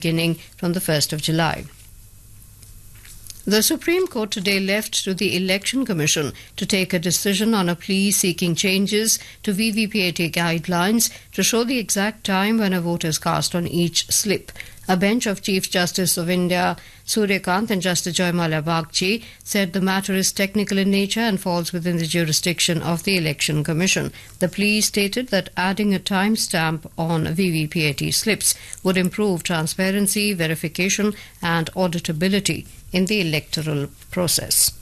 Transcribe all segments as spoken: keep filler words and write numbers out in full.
beginning from the first of July. The Supreme Court today left to the Election Commission to take a decision on a plea seeking changes to V V P A T guidelines to show the exact time when a vote is cast on each slip. A bench of Chief Justice of India Surya Kant and Justice Joymalia Bagchi said the matter is technical in nature and falls within the jurisdiction of the Election Commission. The plea stated that adding a timestamp on V V P A T slips would improve transparency, verification, and auditability in the electoral process.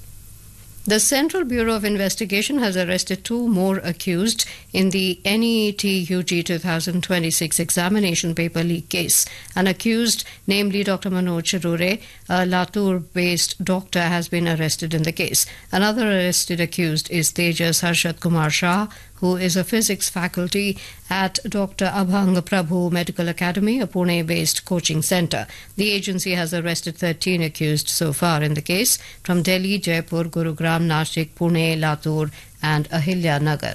The Central Bureau of Investigation has arrested two more accused in the NEET U G two thousand twenty-six examination paper leak case. An accused, namely Doctor Manoj Chirure, a Latur based doctor, has been arrested in the case. Another arrested accused is Tejas Harshad Kumar Shah, who is a physics faculty at Doctor Abhang Prabhu Medical Academy, a Pune based coaching center. The agency has arrested thirteen accused so far in the case from Delhi, Jaipur, Gurugram, Nashik, Pune, Latur, and Ahilya Nagar.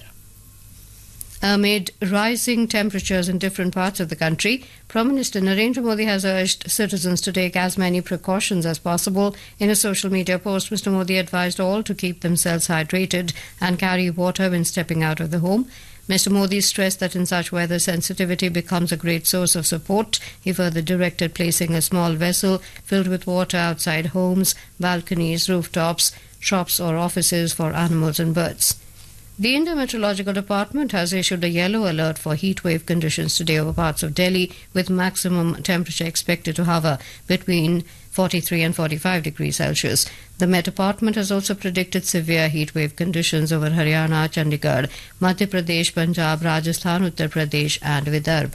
Amid rising temperatures in different parts of the country, Prime Minister Narendra Modi has urged citizens to take as many precautions as possible. In a social media post, Mister Modi advised all to keep themselves hydrated and carry water when stepping out of the home. Mister Modi stressed that in such weather, sensitivity becomes a great source of support. He further directed placing a small vessel filled with water outside homes, balconies, rooftops, shops, or offices for animals and birds. The India Meteorological Department has issued a yellow alert for heat wave conditions today over parts of Delhi, with maximum temperature expected to hover between forty-three and forty-five degrees Celsius. The Met Department has also predicted severe heat wave conditions over Haryana, Chandigarh, Madhya Pradesh, Punjab, Rajasthan, Uttar Pradesh, and Vidarbh.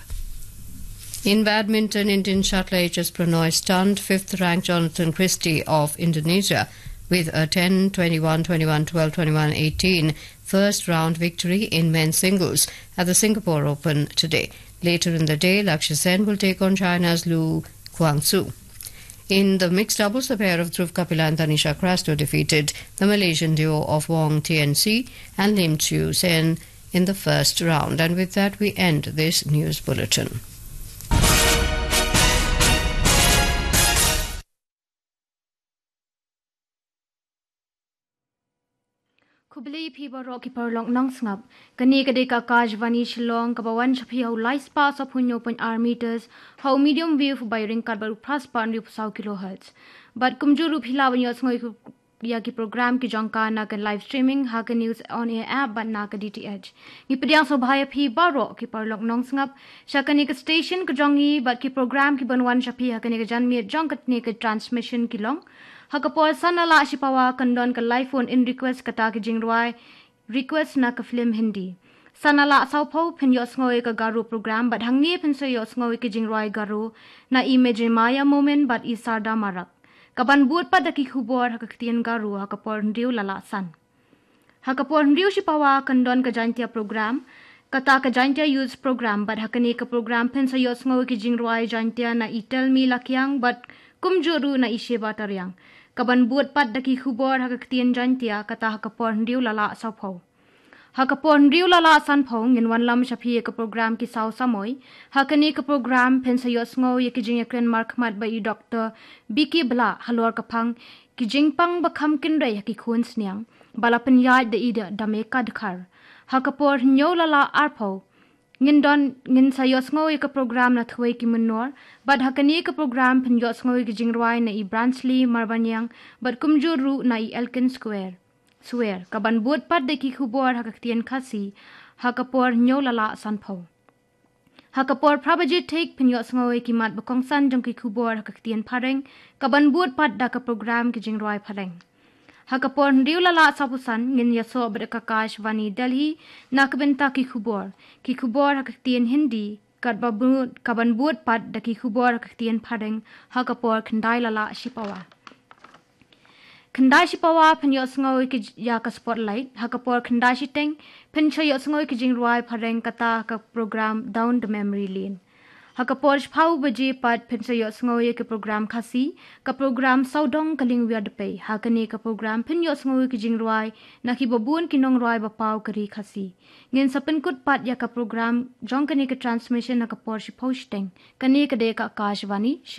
In badminton, Indian shuttler H S Pranoy stunned fifth ranked Jonathan Christie of Indonesia with a ten twenty-one twenty-one twelve twenty-one eighteen first round victory in men's singles at the Singapore Open today. Later in the day, Lakshya Sen will take on China's Lu Guangzu. In the mixed doubles, the pair of Dhruv Kapila and Tanisha Krasto defeated the Malaysian duo of Wong T N C and Lim Chiu Sen in the first round. And with that, we end this news bulletin. Khublei phi baroh ki paralok nongsngap. Kane ka dei ka Akashvani Shillong kaba wan sha phi ha u lai spah sawphew hynñiew point ar meters ha u medium wave ba ïaryngkat bad u phra spah hynriewphew saw kilohertz. Bad kumjuh ruh phi lah ban ïohsngew ïa ki program ki jong ka na ka live streaming ha ka News On Air app bad na ka D T H. Ngi pdiang sngewbha ïa phi baroh ki paralok nongsngap sha kane ka station ka jong ngi bad ki program ki ban wan sha phi ha kane ka janmiet jong kane ka transmission ki long. Ha ka por san la lah shi pawa kan don ka live phone in request kata ka jingrwai request na ka film Hindi. San la lah sawphew phin ïohsngew ïa ka Garo program bad hangne phin sa ïohsngew ïa ka jingrwai Garo na i Mejemaya Momin bad i Sarda Marak. Ka ban bud pat da ki khubor ha ka ktien Garo ha ka por hynriew la lah san. Ha ka por hynriew shi pawa kan don ka Jaintia program, kata ka Jaintia Youth program bad ha kane ka program phin sa ïohsngew ïa ka jingrwai Jaintia na i Telmi Lakiang bad kumjuh ruh na i Sheba Tariang. Ka ban bud pat da ki khubor ha ka ktien Jaintia kata ha ka por hynriew la lah sawphew. Ha ka por hynriew la lah sanphew ngin wanlam sha phi ïa ka program Ki Saw Samoi. Ha kane ka program phin sa ïohsngew ïa ki jingïakren markhmat bad i Doktor B K Blah halor ka phang ki jingpang ba kham kynrei ha ki khun sniang ba la pynïaid da i Dame Kadkhar. Ha ka por hynñiew la lah arphew ngin don, ngin sa ïohsngew ïa ka program Na Thwei Ki Mynnor bad ha kane ka program phin ïohsngew ïa ka jingrwai na i Bransley Marbaniang bad kumjuh ruh na i Elkin Square Swer. Ka ban bud pat da ki khubor ha ka ktien Khasi ha ka por hynñiew la lah sanphew. Ha ka por phra baje thik phin ïohsngew ïa ki mat ba kongsan jong ki khubor ha ka ktien Phareng, ka ban bud pat da ka program Ki Jingrwai Phareng. Ha ka por hynriew la lah sawphew san ngin ïasoh bad ka Akashvani Delhi na ka bynta ki khubor, ki khubor ha ka ktien Hindi, ka ban bud, ka ban bud pat da ki khubor ha ka ktien Phareng ha ka por khyndai la lah shi pawa. Khyndai shi pawa phin ïohsngew ïa ka Spotlight, ha ka por khyndai shiteng phin sa ïohsngew ïa ka jingrwai Phareng kata ka program Down the Memory Lane. Ha ka por shiphew baje pat phin sa ïohsngew ïa ka program Khasi, ka program Sawdong Ka Lyngwiar Dpei. Ha kane ka program phin ïohsngew ïa ka jingrwai na kiba bun ki nongrwai ba paw ka ri Khasi. Ngin sa pynkut pat ïa ka program jong kane ka transmission ha ka por shiphew shiteng. Kane ka dei ka Akashvani Shillong.